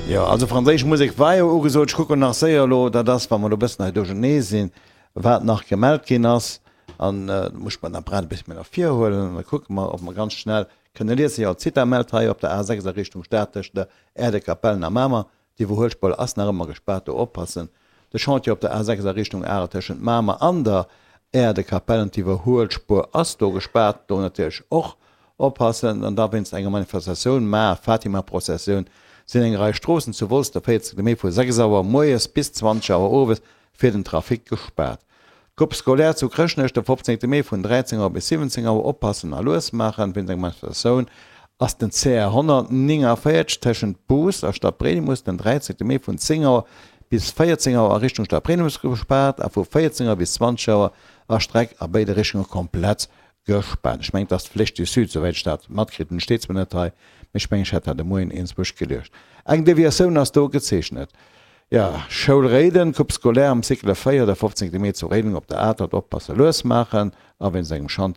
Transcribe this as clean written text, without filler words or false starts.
Jo, also franséisch Musek war jo ugesot. Ech kucken nach séier elo, dat ass, wa mer elo e bëssen hei duerchernee sinn, wat nach gemellt ginn ass. An da muss ech mer den Apparat e bësse méi no vir huelen an da kucke mer, ob mer ganz schnell kënne liesen. Jo, d'Zitha mellt hei op der A6 a Richtung Stad tëscht der Aire de Capellen a Mamer. D'Iwwerhuelspuer ass nach ëmmer gespaart, do oppassen. De Chantier op der A6 a Richtung Arel tëschent Mamer an der Aire de Capellen, d'Iwwerhuelspuer ass do gespaart, do natierlech och oppassen. An da wéinst enger Manifestatioun, Mar Fatima Prozessioun, sinn eng Rei Stroossen zu Wolz de 14 Mee vu 6 Auer moies bis 20 Auer owes fir den Trafic gespaart. D'Grupp Scolaire zu Chrëschtnech de 15 Mee vun 13 Auer bis 17 Auer oppassen a lues maachen. Wéinst enger Manifestatioun ass den CR 149 tëschent Bous a Stadbriedemes den 13 Mee vun 10 Auer bis 14 Auer a Richtung Stadbriedemes gespaart a vu 14 Auer bis 20 Auer ass d'Streck a béide Richtunge komplett gespaart. Ech mengen et ass d'Flèche du Sud, souwäit ech dat matkritt hunn. Et steet zwar net hei, mee ech mengen ech hätt dat de Moien iergendzwousch geliescht. Eng Deviatioun ass do gezeechnet. Jo, Schoul Réiden, Coupe scolaire am Cycle 4, de 15 Mee zu Réiden op der Atert. Oppasse, lues maachen a wéinst engem Chantier.